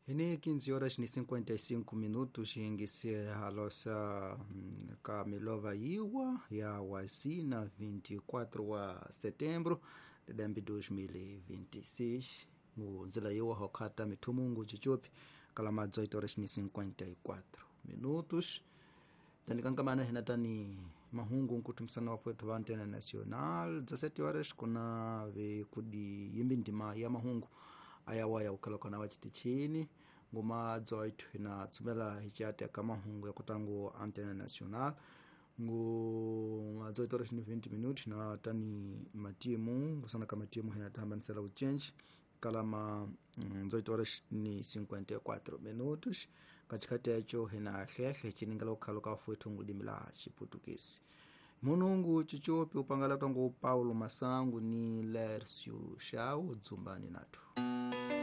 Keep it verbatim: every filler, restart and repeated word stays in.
Ni quinze horas ni cinquenta e cinco minutos ingise alosa ka milova iwa ya wazina vinte e quatro wa setembro de dois mil e vinte e seis nzila iwa hokata mithumungu chichupi kalama dezoito horas ni cinquenta e quatro minutos tanikankamana hinatani mahungu nkutumsana wafwetu wa Antena Nacional dezessete horas kuna vikudi yimbi ndima ya mahungu ayawa ya ukhalokana wa chitichini nguma dezoito ina tsumela hichate ka mahungu ya kutangu Antena Nacional ngu dezoito horas ni vinte minutos na tani matimu ngusana ka matimu hina tamba nsela uchenji kalama dezoito horas ni cinquenta e quatro minutos katikati yacho hina hlehle chiningala ukhalo ka fwetu ngulimi la chiputukisi munungu chichopi upangala tangu Paulo Masangu ni Lércio Chau dzumbani nathu.